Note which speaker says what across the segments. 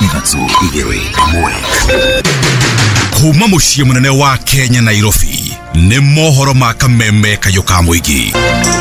Speaker 1: 3 2 1. Kuma muciĩ mũnene wa Kenya Nairobi nĩ mohoro ma Kameme kayũ ka mũingĩ.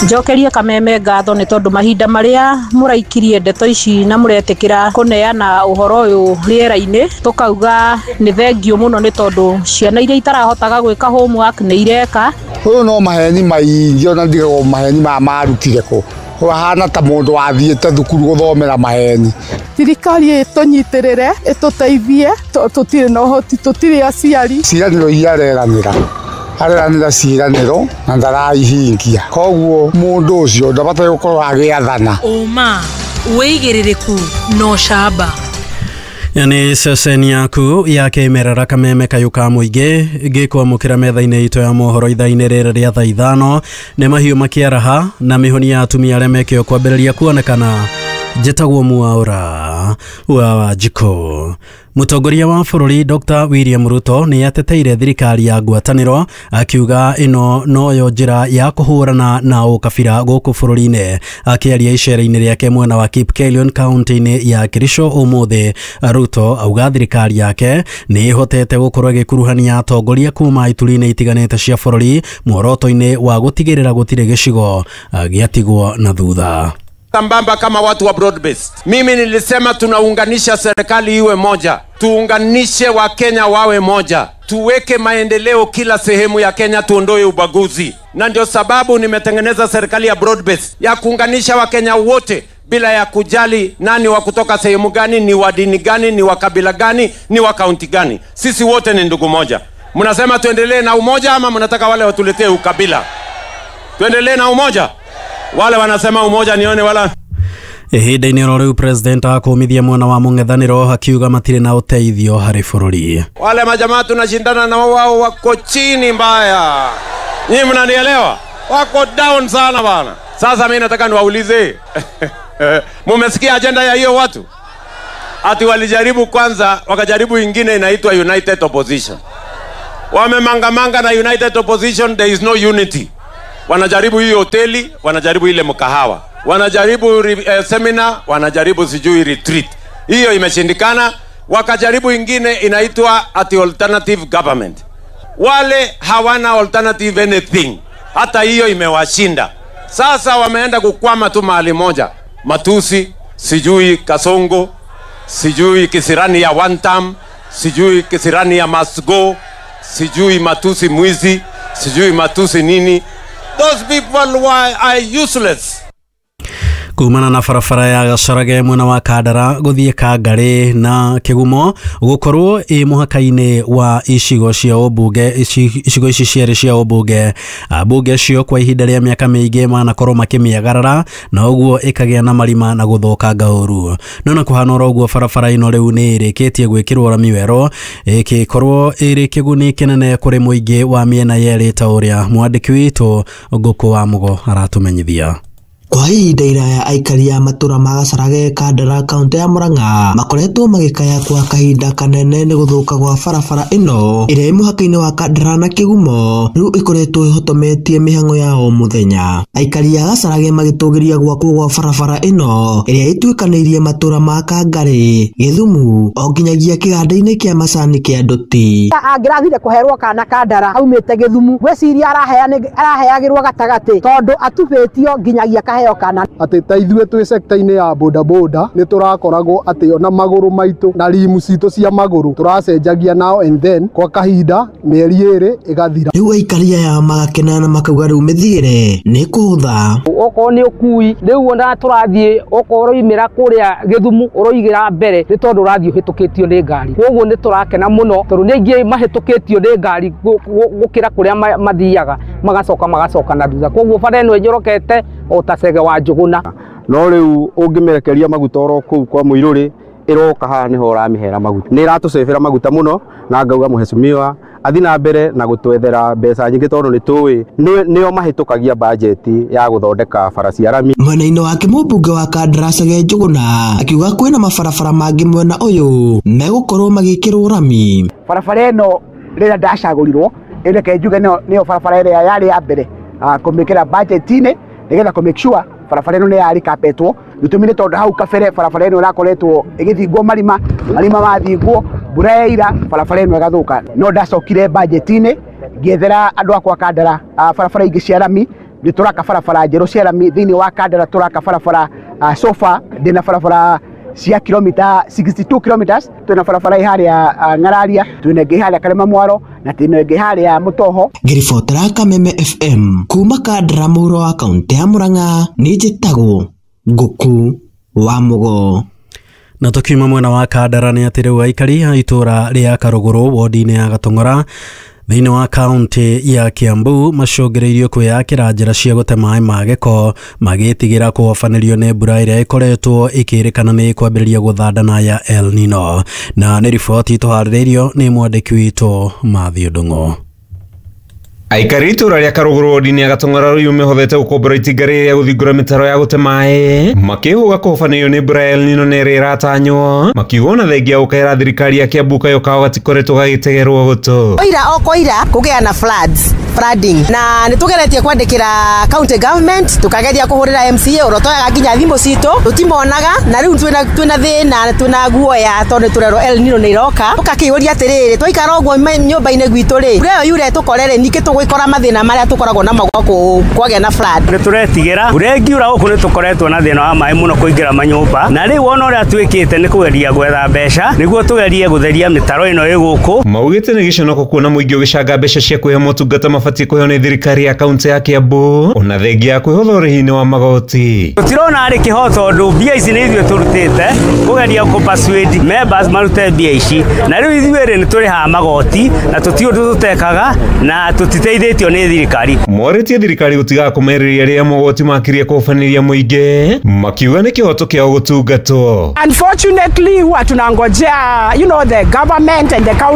Speaker 2: Njokerie Kameme ngatho nĩ tondũ mahinda marĩa mũraikirie ndeto ici na mũretĩkĩra kũneana ũhoro ũyũ rĩera-inĩ, tũkauga nĩ thengio mũno nĩ tondũ ciana iria itarahotaga gwĩka homework nĩ ireka.
Speaker 3: Ũyũ no maheni maingĩ, ona ndigagwo maheni maya marutire kũ. Ũhana ta mũndũ wathiĩte thukuru gũthomera maheni.
Speaker 4: Thirikari ĩtũnyitĩrĩre, ĩtũteithie, tũtirĩ na ũhoti, tũtirĩ aciari.
Speaker 3: Ciĩranĩro iria areranĩra, areranĩra ciĩranĩro na ndaraihingia. Koguo mũndũ ũcio ndabataire gũkorwo agĩathana.
Speaker 5: Ũma, wĩigĩrĩrĩku na ũcamba.
Speaker 6: Nĩ ceceni yaku ya kĩmerera Kameme kayũ ka mũingĩ ngĩkwamũkĩra metha-inĩ itũ ya mohoro ithaa-inĩ rĩrĩ rĩa thaa 5. Nĩ mahiũ makĩaraha na mĩhũni ya atumia arĩa mekĩo kwambĩrĩria kuonekana. Njĩtagwo Mwaura wa Wanjikũ. Mũtongoria wa bũrũri Dr. William Ruto nĩ ateteire thirikari ya ngwatanĩro akiuga ĩno noyo njĩra ya kũhũrana na ũkabira gũkũ bũrũri-inĩ. Akĩaria icera-inĩ rĩake mwena wa Kipkelion kaunti-inĩ ya Kericho ũmũthĩ, Ruto auga thirikari yake nĩ ĩhotete gũkorwo ĩgĩkuruhania atongoria kuma ituri-inĩ itiganĩte cia bũrũri muoroto-inĩ wa gũtigĩrĩra gũtirĩ gĩcigo gĩatigwo na thutha.
Speaker 7: Sambamba kama watu wa broad based. Mimi nilisema tunaunganisha serikali iwe moja. Tuunganishe wa Kenya wawe moja. Tuweke maendeleo kila sehemu ya Kenya, tuondoe ubaguzi. Na ndio sababu nimetengeneza serikali ya broad based ya kuunganisha wa Kenya wote bila ya kujali nani wa kutoka sehemu gani, ni wa dini gani, ni wa kabila gani, ni wa kaunti gani. Sisi wote ni ndugu moja. Mnasema tuendelee na umoja ama mnataka wale watuletee ukabila? Tuendelee na umoja. Wale wanasema umoja nione wala.
Speaker 6: Ihinda-inĩ oro rĩu president akũmithia mwena wa mũng'ethanĩro akiuga matirĩ na ũteithio harĩ bũrũri.
Speaker 7: Wale majamaa tunashindana na wao wako chini mbaya. Nyinyi mnanielewa? Wako down sana bana. Sasa mimi nataka niwaulize. Mumesikia agenda ya hiyo watu? Ati walijaribu kwanza, wakajaribu ingine inaitwa United Opposition. Wamemangamanga na United Opposition, there is no unity. Wanajaribu hii hoteli, wanajaribu ile mkahawa, wanajaribu seminar, wanajaribu sijui retreat. Hiyo imeshindikana. Wakajaribu ingine inaitwa ati alternative government. Wale hawana alternative anything. Hata hiyo imewashinda. Sasa wameenda kukwama tu mahali moja. Matusi, sijui Kasongo, sijui kisirani ya one term, sijui kisirani ya must go, sijui matusi mwizi, sijui matusi nini. Those people are useless.
Speaker 6: Kumana na barabara ya Gacarage mwena wa Kandara gũthiĩ Kangarĩ na Kĩgumo gũkorwo ĩ mũhaka-inĩ wa icigo cia ũmbunge, icigo ici cierĩ cia ũmbunge. Ambunge acio kwa ihinda rĩa mĩaka mĩingĩ manakorwo makĩmĩagarara na ũguo ĩkagĩa na marima na gũthũkanga ũru. No na kũhana oro ũguo barabara ĩno rĩu nĩ ĩrĩkĩtie gwĩkĩrwo rami werũ ĩgĩkorwo ĩrĩ kĩguni kĩnene kũrĩ mũingĩ wa mĩena yerĩ ta ũrĩa mwandĩki witũ Ngũkũ wa Mũgo aratũmenyithia.
Speaker 8: Kwa ihinda iraya aikari a matũra ma Gacarage Kandara kaunti ya Murang'a makoretwo magĩkaya kwa kahinda kanene nĩ gũthũka gwa barabara ĩno ĩrĩa ĩ mũhaka-inĩ wa Kandara na Kĩgumo rĩu ĩkoretwo ĩhotometie mĩhang'o ya o mũthenya. Aikari a Gacarage magĩtũgĩria gwakwo gwa barabara ĩno ĩrĩa ĩtuĩkanĩirie matũra ma Kangarĩ, Gĩthumu o nginyagia kĩganda-inĩ kĩa macani kĩa Ndũti.
Speaker 9: Angĩrathire kũherwo kana Kandara aumĩte Gĩthumu, ngwĩciria araheagĩrwo gatagatĩ tondũ atubĩtio nginyagia kahe.
Speaker 10: Atĩ ta ithuĩ twĩ sector-inĩ ya boda boda nĩ tũrakoragwo atĩ ona magũrũ maitũ na rimu citũ cia magũrũ tũracenjagia now and then kwa kahinda mĩeri 2 ĩgathira.
Speaker 8: Rĩu aikari aya magakena na makauga rĩu mĩthiĩre nĩ kũhũtha.
Speaker 11: Okorwo nĩ ũkui rĩu ona tũrathiĩ okorwo ũroimĩra kũrĩa Gĩthumu ũroigĩra mbere nĩ tondũ ũrathiĩ ũhĩtũkĩtio nĩ ngari. Koguo nĩ tũrakena mũno tondũ nĩ aingĩ mahĩtũkĩtio nĩ ngari gũkĩra kũrĩa mathiaga magacoka na thutha. Koguo bara ĩno ĩnyorokete o ta cege wa Njũgũna.
Speaker 12: No rĩu ũngĩmĩrekeria maguta oro kũu kwa mũirũrĩ ĩroka haha nĩho ũramĩhera maguta. Nĩ ĩratũcebera maguta mũno na ngauga mũhecimiwa athi na mbere na gũtwethera mbeca nyingĩ tondũ nĩ tũĩ nĩo mahĩtũkagia bajeti ya gũthondeka bara cia rami.
Speaker 8: Mwena-inĩ wake mũmbunge wa Kandara Chege Njũgũna akiuga kwĩna mabarabara mangĩ mwena ũyũ megũkorwo magĩkĩrwo rami.
Speaker 13: Barabara ĩno rĩrĩa ndacagũrirwo ĩreke njuge nĩyo barabara ĩrĩa yarĩ ya mbere kũmĩkĩra bajeti-inĩ nĩgetha kũ make sure Barabara ĩno nĩ yarikapetwo gĩtũmi nĩ tondũ hau kabere barabara ĩno ĩrakoretwo ĩgĩthingwo marima marima mathingwo mbura yaira barabara ĩno ĩgathũka. No ndacokire budget-inĩ ngĩethera andũ akwa Kandara barabara ingĩ cia rami. Nĩ tũraka barabara njerũ cia rami thĩinĩ wa Kandara, tũraka barabara sofa ndĩna barabara cia kilomita 62 kilometers. Twĩna barabara ĩ harĩa Ng'araria, twĩna ĩngĩ harĩa Karema Mwaro na twĩna ĩngĩ harĩa Mũtoho.
Speaker 8: Ngĩribotera Kameme FM kuma Kandara mũhuro wa kaũntĩ ya Murang'a, nĩ njĩtagwo Ngũkũ wa Mũgo.
Speaker 6: Na tukiuma mwena wa Kandara nĩ atĩ rĩu aikari a itũra rĩa Karũgũrũ wodi-inĩ ya Gatong'ora thĩinĩ wa kaunti ya Kiambu macũngĩrĩirio kwĩyakĩra njĩra cia gũte maĩ ma gĩko magĩtigĩra kũhobanĩrio nĩ mbura ĩrĩa ĩkoretwo ĩkĩrĩkana nĩ kwambĩrĩria gũthandana ya El Nino. Na nĩ riboti tũharĩrĩirio nĩ mwandĩki witũ Matthew Ndung'u.
Speaker 14: Aikari itũra rĩa Karũgũrũ wodi-inĩ ya Gatong'ora rĩu mehotete gũkombora itinga rĩrĩa gũthingũra mĩtaro ya gũte maĩ makĩhũga kũhobanĩrio nĩ mbura ya El Nino na ĩrĩa ĩratanywo makiuga ona thengia gũkaĩra thirikari ya Kiambu kayo kao gatikoretwo gagĩtegerwo gũtũ.
Speaker 15: Oira o koira kũgĩa na floods flooding na nĩ tũgeretie kwandĩkĩra county government tukageria kũhũrĩra MCA ũrotoyaga nginya thimũ citũ tũtimonaga na rĩu twĩna thĩna twĩna guoya tondũ tũrerwo El Nino nĩ iroka ũkakĩũria atĩrĩrĩ twaikara ũguo nyũmba-inĩ gwitũ rĩ mbura ĩyo yure tũkorere ningĩ tũgwĩkora mathĩna marĩa tũkoragwo namo gũkũ kwagĩa na flood.
Speaker 16: Nĩ tũretigĩra mbura ĩngiura gũkũ nĩ tũkoretwo na thĩna wa maĩ mũno kũingĩra manyũmba na rĩu ona ũrĩa twĩkĩte nĩ kũgeria gwetha mbeca nĩguo tũgerie gũtheria mĩtaro ĩno ĩ gũkũ.
Speaker 14: Maugĩte nĩ gĩconoko kuona mũingĩ ũgĩcanga mbeca cia kwĩhe motungata mabatiĩ kũheo nĩ thirikari ya kaunti ya Kiambu ona thengia ya kwĩhotha ũrĩhi-inĩ wa magoti.
Speaker 16: Tũtirona arĩ kĩhooto tondũ mbia ici nĩ ithuĩ tũrutĩte kũgeria kũ persuade members marute mbia ici na rĩu ithuĩ rĩ nĩ tũrĩhaga magoti na tũtirĩ ũndũ tũtekaga na tũtiteithĩtio nĩ thirikari.
Speaker 14: Morĩtie thirikari gũtigaga kũmerĩria rĩrĩa mogoti makirie kũhobanĩria mũingĩ makiuga nĩ kĩhoto kĩao gũtungatwo.
Speaker 4: Unfortunately huwa tunangojea the government and the county